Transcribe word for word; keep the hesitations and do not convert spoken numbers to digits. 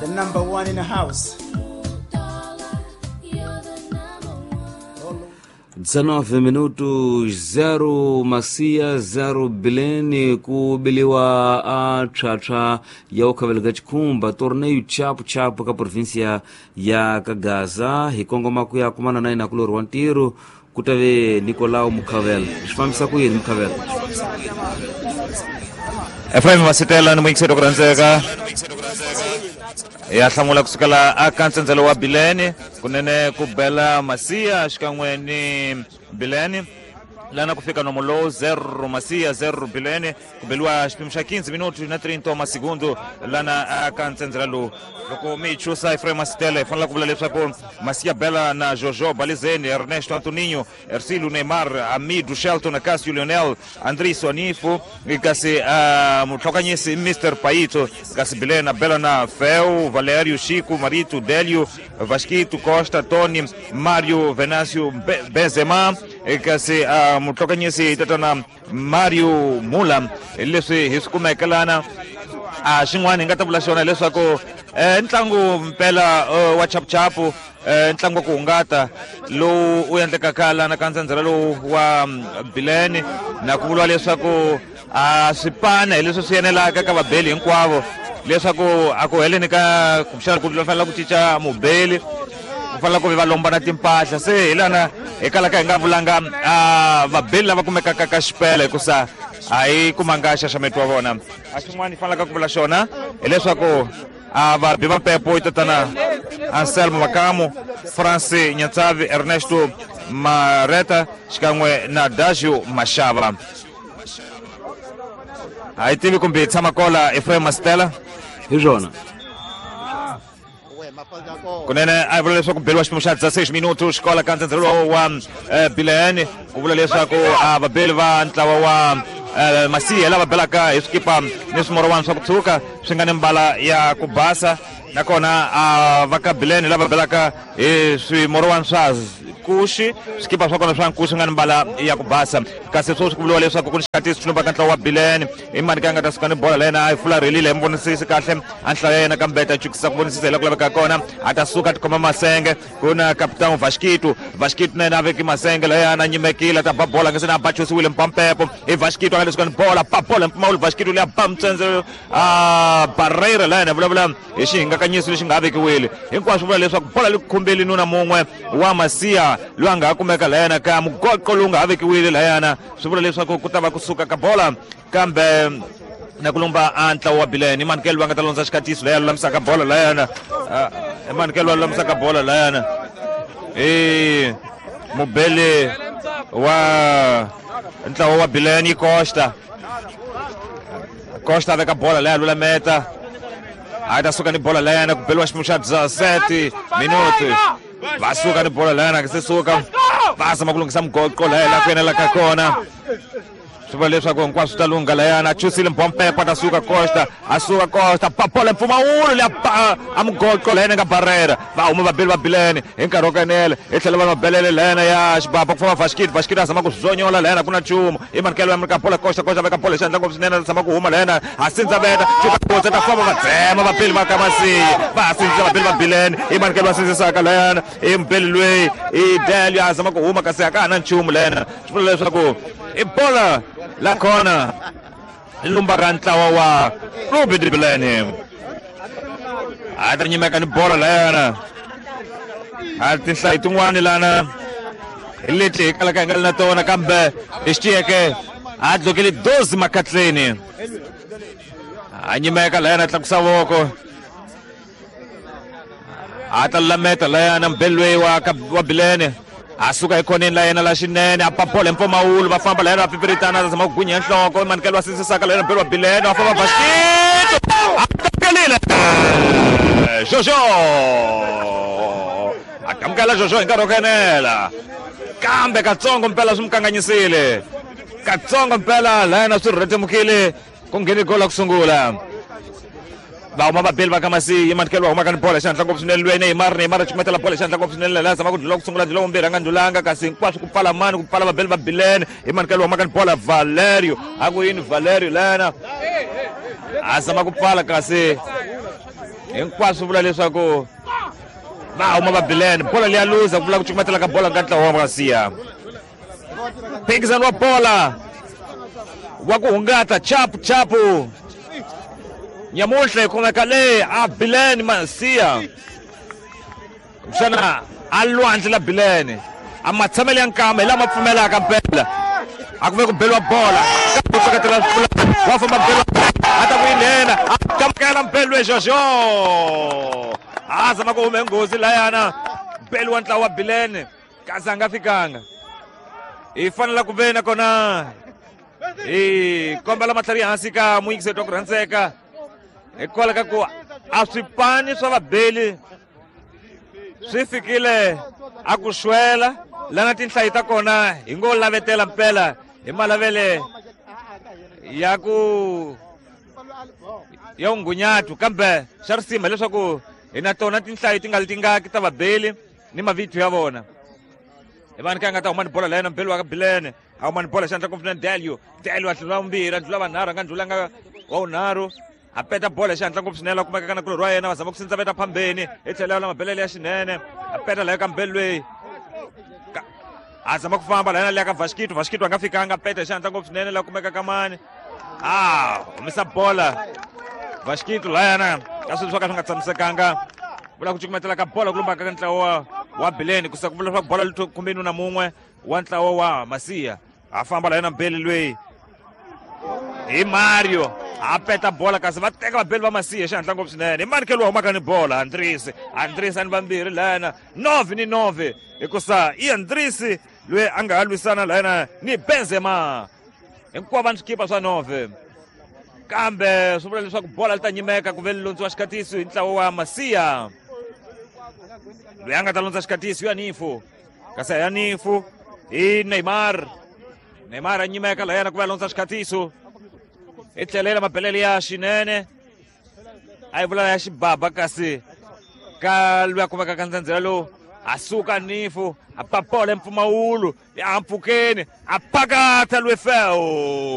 The number one in the house. dezenove minutos zero Macia zero Bilene kubiliwa a tshwatswa ya ukhaveleka chikhumba torneio chapu chapu ka província ya Kagaza hi kongoma ku ya kumana na yena kulori wa ntirho ku tave Nicolau Mukhavela. Swi fambisa ku yini Mukhavela? Efraim Masitela ni muyingiseri ku rhandzeka ya hlamula kusukela aka ntsendzelo wa Bilene kunene ku bela Masia xikan'we ni Bilene lana ku fika nomo lowu zero Masia zero Bilene ku beliwa xipimo xa quinze minutos na trinta masegundo lana aka ntsendzela lowu. Loko mi hi chusa Efraim Masitela hi fanele ku vula leswaku Masia bela na Jojo Balizeni, Ernesto Antoninho, Ercílio Neymar, Amido Shelton, Cássio Leonel, Andriso Anifo, kasi uh, mutlhokanyisi Mister Paito, kasi Bilena bela na Fel, Valério, Chico, Marito, Délio, Vasquito, Costa, Tony, Mário, Venâncio, Be Benzema, kasi uh, mutlhokanyisi tatana Mário Mula. Leswi hi swi kumeke lana a xin'wana hi nga ta vula xona leswaku eh, ntlangu mpela uh, wa chapuchapu eh, ntlangu wa ku hungata lowu u endlekaka lana ka ntsendzela lowu wa Bilene na ku vuriwa leswaku a swipana hi leswi swi enelaka ka vabeli hinkwavo leswaku a ku heleni ka kumbexana ku fanela ku cinca mubeli ku fanela ku va lombana timpahla. Se hi lana hi kalaka hi nga vulanga a vabeli lava kumekaka ka xipela hikusa a hi kumanga xaxameto wa vona. A xin'wana hi fanelaka ku vula xona hileswaku a vabi va mpepo i tatana Anselmo Makamo, France Nyantsavi, Ernesto Mareta xikan'we na Dagio Mashava. A hi tivi kumbe hi tshama kola Efraim Masitela hi swona. Kunene a hi vula leswaku beliwa xipimo xa dezesseis minutos kola ka ntsendzelo wa Bilene ku vula leswaku a vabeli va ntlawa wa Masia lava belaka hi swikipa ni swimorowani swa ku tshuka swi nga ni mbala ya ku basa nakona a va ka Bilene lava belaka hi swimorowani swa nkuxi swikipa swa kona swa nkuxi nga ni mbala ya ku basa. Kasi sweswi ku vuriwa leswaku ku ni xikatisi xi ka ntlawa wa Bilene i mani ka nga ta suka ni bola la yena a yi fularhelile hi mi vonisisi kahle a nhlayo ya yena kambe ta chukisa ku vonisisa hi la ku laveka kona a ta suka a tikhoma masenge ku na kapitano Vasquito. Vasquito na yena a veki masenge layana a nyimekile a ta ba bola nga se na a bachusiwile mpampepo i Vasquito a nga le suka ni bola ba bola mpfumawulo Vasquito leya ba mutsendzelo a Barreira la yena vulavula hi xihingakanyiso lexi nga ha vekiwile hinkwaswo vula leswaku bola li khumbeli nuna mun'we wa Masia loyi a nga ha kumeka layana ka mugoqo lowu nga ha vekiwile layana swi vula leswaku ku ta va kusuka ka bola kambe na ku lumba a ntlawa wa Bilene. I Manikelo va nga ta londza xikatiso leyi a lulamisaka bola layana i Manikelo va lulamisaka bola layana i mubeli wa ntlawa wa Bilene i Costa. Costa a veka bola leyi a lulameta a ta suka ni bola layana ku beliwa xipimo xa dezessete minutos va suka ni bola layana se suka va zama ku lunghisa mugoqo laya la ku enelaka kona swi vula leswaku hinkwaswo swi ta lungha layana a chusile mbompepo a ta suka Costa a suka Costa ba bola mpfumawulo leya ba a mugoqo layana nga Barreira va huma vabeli va Bilene hi nkarhi wo kanela hi tlhela va mabelele layana ya xibaba ku famba Vasquito. Vasquito a zama ku zonyola layana ku na nchumu i Manikelo ya ka bola Costa Costa veka bola xandla ngopfu swinene a zama ku huma layana a sindza veta chuka kotsa ta famba va dzema vabeli va ka Masia va sindzisa vabeli va Bilene i Manikelo va sindzisaka layana i mubeli loyi i Delio a zama ku huma kasi a ka ha na nchumu layana swi vula leswaku i bola la kona lumba ka ntlawa wa Clube de Bilene a ta nyimeka ni bola layana a tinhlayo tin'wani lana hi leti hi kalaka hi nga ri na tona kambe hi xitiyeke a dlokele doze makatleni a nyimeka layana a tlakusa voko a ta lulameta layana mubeli loyi wa wa Bilene a suka ekhoneni la yena la xinene a ba bola hi mpfumawulo va famba layena va pipiritana a zama ku gwinya nhloko Manikelo va sindzisaka layena mubeli wa Bilene va famba Vasquito a takelile Jojo a kamukela Jojo hi nkarhi wo kenela kambe katsongo mpela swi mu kanganyisile katsongo mpela layena swi rhetemukile ku ngheni gola ku sungula va huma vabeli va ka Masia Manikelo va humaka ni bola xandla ngopfu swinene loyi Neymar Neymar a cukumetela bola xandla ngopfu swinene laha zama ku ndlula ku sungula ndlula vumbirhi a nga ndlulanga kasi hinkwaswo ku pfala mani ku pfala vabeli va Bilene i Manikelo va humaka ni bola Valerio a ku yini Valerio lana a zama ku pfala kasi Hinkwaswo vula leswaku va huma va Bilene bola leya luza ku vula ku cukumetela ka bola ka ntlawa wa Masiya. Phikizano wa bola wa ku hungata chapu chapu nyamuntlha hi khomeka le a Bilene Masiya kumbexana a lwandle la Bilene a matshamelo ya nkama hi lama pfumelaka mpela a ku ve ku beliwa bola kambe u seketela wa famba beliwa a ta ku yi nghena a kamukela mpelo Jojo a zama ku hume nghozi layana beli wa ntlawa wa Bilene kasi a nga fikanga hi fanela ku ve nakona hi kombela matlhari hansi ka muyingiseti wa ku rhandzeka hikwalaho ka ku a swipani swa vabeli swi fikile a ku xwela lana tinhlayi ta kona hi ngo lavetela mpela hi malavele ya ku ya ungunyatu kambe xa risima leswaku hi na tona tinhlayo ti nga li tingaki ta vabeli ni mavito ya vona hi vani ka nga ta huma ni bola layena mbeli wa ka Bilene a huma ni bola xandla confident Delio Delio a hlula vumbirhi a ndlula vanharhu a nga ndlulanga wa vunharhu a peta bola hi xihatla ngopfu swinene a kumeka ka nakulorhi wa yena va zama ku sindzaveta phambeni hi tlhela la mabelele ya xinene a peta layo ka mbeli loyi a zama ku famba layena leya ka Vasquito Vasquito a nga fikanga a peta hi xihatla ngopfu swinene la kumeka ka mani a humesa bola Vasquito layana ka swilo swo ka swi nga tshamisekanga vula ku cukumetela ka bola ku lumbaka ka ntlawa wa Bilene kusa ku vula leswaku bola li khumbeni na mun'we wa ntlawa wa Masiya a famba layena mbeli loyi hi Mario a peta bola kasi va teka vabeli va Masiya xihatla ngopfu swinene hi mani ke lowu humaka ni bola Andrisi Andrisi a ni vambirhi layana nove ni nove hikusa i Andrisi loyi a nga ha lwisana layana ni Benzema hinkwavo va ni swikipa swa nove kambe swi vula leswaku bola li ta nyimeka ku ve li londziwa xikatiso hi ntlawa wa Masiya loyi a nga ta londza xikatiso ya Nifu kasi ya Nifu hi Neymar Neymar a nyimeka layana ku va londza xikatiso hi tlhelela mabelele ya xinene a yi vula ya xibaba kasi ka loyi a kumeka ka ndzandzela lowu a suka Nifu a papola mpfumawulo ya mpfhukeni a pakata lwefewu